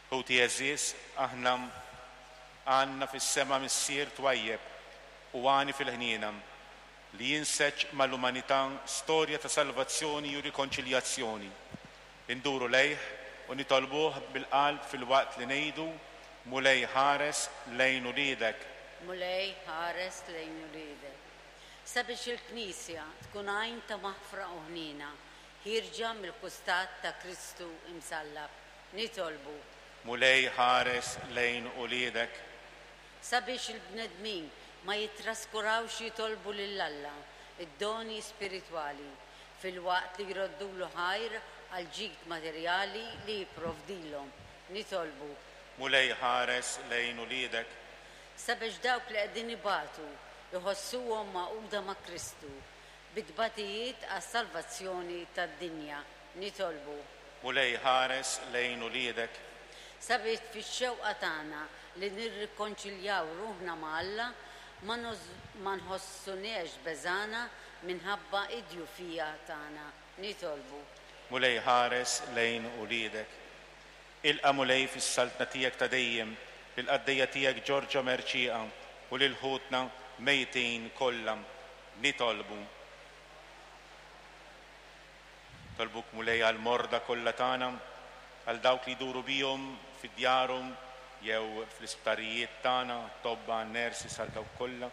Ħuti għeżież, aħna għandna fis-sema Missier twajjeb u għani fil-ħniena, li jinseġ mal-umanità storja ta' salvazzjoni u rikonċiljazzjoni. Induru lejh u nitolbuh bil-qalb filwaqt li ngħidu, Mulej ħares lejn uliedek. Mulej ħares lejn uliedek. Sabiex il-Knisja tkun għajn ta' maħfra u ħniena, ħierġa mill-kustat ta' Kristu imsallab. Nitolbu. Mulej ħares lejn uliedek. Sabiex il-bnedmin ma jittraskurawx jitolbu lil Alla d-doni spiritwali, filwaqt li jroddulu ħajr għall-ġid materjali li jipprovdilhom. Nitolbu. Mulej ħares lejn uliedek. Sabiex dawk li qegħdin ibatu jħossuhom magħquda ma' Kristu bit-tbatijiet għas-salvazzjoni tad-dinja. Nitolbu. Mulej ħares lejn uliedek. Sabiex fix-xewqa tagħna li nirrikonċiljaw ruħna ma' Alla ma nħossuniex beżgħana minħabba d-djufija tagħna. Nitolbu. Mulej ħares lejn uliedek. Ilqa' Mulej fis-saltna tiegħek ta' dejjem lill-qaddejja tiegħek Giorgia Mercieca u lil ħutna mejtin kollha. Nitolbu. Nitolbuk Mulej għall-morda kollha tagħna, għal dawk li jduru bihom fi djarhom jew fl-isptarijiet tagħna, għat-tobba, għan-nurses, għal dawk kollha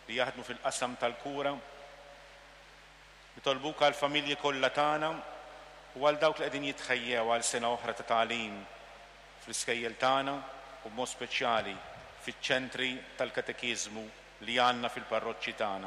li jaħdmu fil-qasam tal-kura. Nitolbuk għall-familji kollha tagħna u għal dawk li qegħdin jitħejjew għal sena oħra ta' tagħlim fl-iskejjel tagħna u b'mod speċjali fiċ-ċentri tal-katekiżmu li għandna fil-parroċċi tagħna.